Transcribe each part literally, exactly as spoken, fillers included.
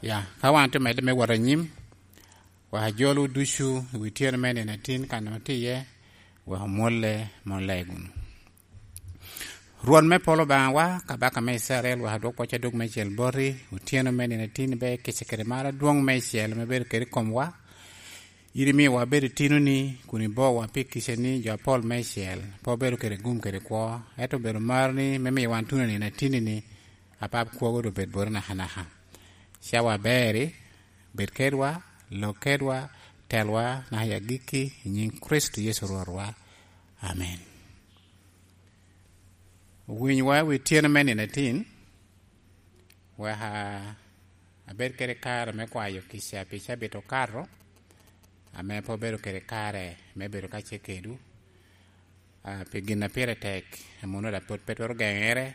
Ya, ka wan tye medde me wot anyim, wek ajolo ducu i wi tyeno me nino atin kan otye iye, wek omwolle mon lego wunu. Rwot me polo Obaŋawa, kabaka me Icrael, wek adwok pwoc adwog meicel boti, otyeno me nino atin ibe kica kede mar adwoŋ meicel ame bedo kede i komwa. In imio wabedo itinoni, kun ibowa pi kicani jo apol meicel, pe obedo kede gum kede kwo, ento obedo maroni me miyo wan tuno nino atinni-ni, apap kwogo doŋ bed boti nakanaka. Cawa aberi, bed kedwa, lok kedwa, telwa, naka i agikki, i nyiŋ Kricito Yecu Rwotwa. Amen. Owinywa i wi tyeno me nino atin, wek abed kede kare me kwayo kica pi cabit okato, ame pe obedo kede kare me bedo kacel kedwu, ah, pi gin a pire tek, ame onwoŋo daŋ pwod pe twero geŋere,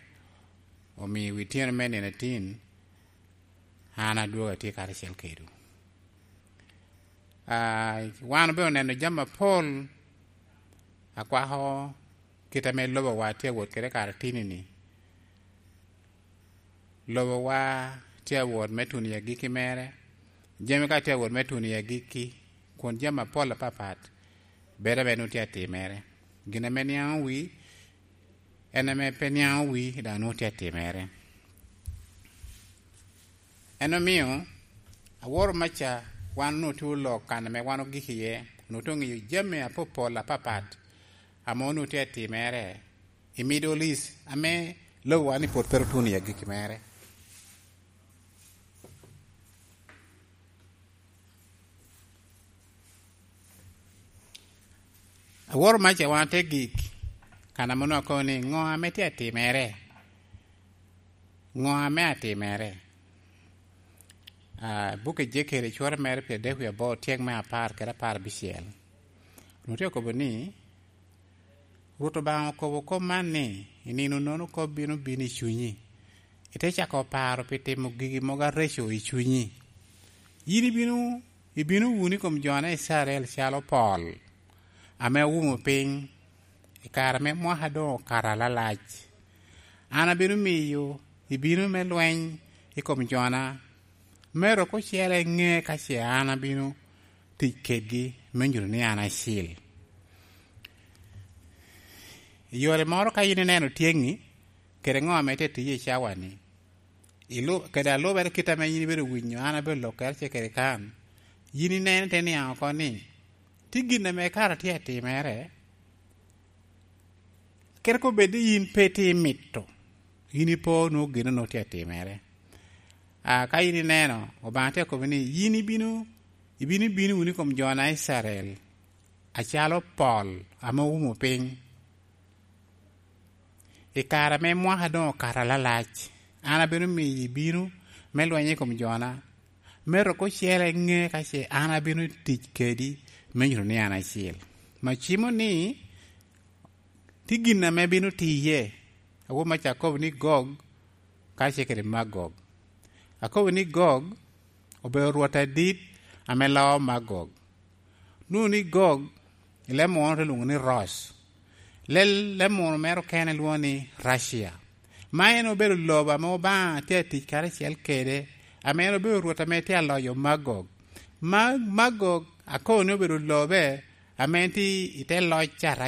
omio i wi tyeno me nino atin, an adwogo atye karacel kedwu. Ah, wan obedo oneno jami apol, akwako kit ame lobowa tye awot kede karatini-ni. Lobowa tye awot me tuno i agikki mere, jami ka tye awot me tuno i agikki, kun jami apol apapat bedo ame nwoŋo tye atimere. Gin ame niaŋ owi, en ame pe niaŋ owi, daŋ nwoŋo tye atimere. En omio, aworo maca wan onwoŋo tye olok kan ame wan ogik iye, onwoŋo tye oŋeyo jami apopol apapat ame onwoŋo tye atimere i Middle East, ame lobowa ni pwod pe ru tuno i agikki mere. Aworo maca wan te gik, kan ame onwoŋo akobo ni, ŋo ame tye atimere? Ŋo ame atimere? Ah, buk Ejekel, icware mere pyeradek wie aboro, tyek me apar kede apar abicel. Onwoŋo tye okobo ni, Rwot Obaŋa okobo kop man ni, "I nino-nono kop bino bino i cunyi, ite cako paro pi timo gigi mogo areco i cunyi. Yin ibino, ibino wunu i kom jona Icrael calo pol ame owumo piny, i kare ame mwaka doŋ okato alalac. An abino miyo ibino me lweny i kom jona, me rok ocele ŋe ka ce an abino tic kedgi me nyuto ni an acil." I yore moro, ka yin ineno tyeŋi, kede ŋo ame tye tiyo i cawa-ni, ilu-, kede alubere kit ame yin ibedo winyo an abedo lok kede ce kede kan, yin ineno te niaŋ oko ni, tye gin ame kara tye atimere, kede ka obed ni yin pe tye imito, yin ipo nwoŋo gin onwoŋo tye atimere. A, ka yin ineno, Obaŋa tye akobo ni, yin ibino, ibino bino wunu i kom jona Icrael, acalo pol ame oumo piny. I kare ame mwaka doŋ okato alalac, an abino miyo ibino me lweny i kom jona, me rok ocele ŋe ka ce an abino tic kedi me nyuto ni an acil. Ma cimo ni, tye gin ame bino tiye, awo maca akobo ni Gog, ka ce kede Magog. Akobo ni Gog obedo rwot adit ame loo Magog. Nwoŋo ni Gog, i leb munu te lwoŋo ni Ros. Lel-, leb munu mere okene lwoŋo ni Russia. Ma en obedo lobo ame Obaŋa tye atic karacel kede, ame en obedo rwot ame tye aloyo Magog. Ma-, Magog akobo ni obedo lobe ame en tye i te loc a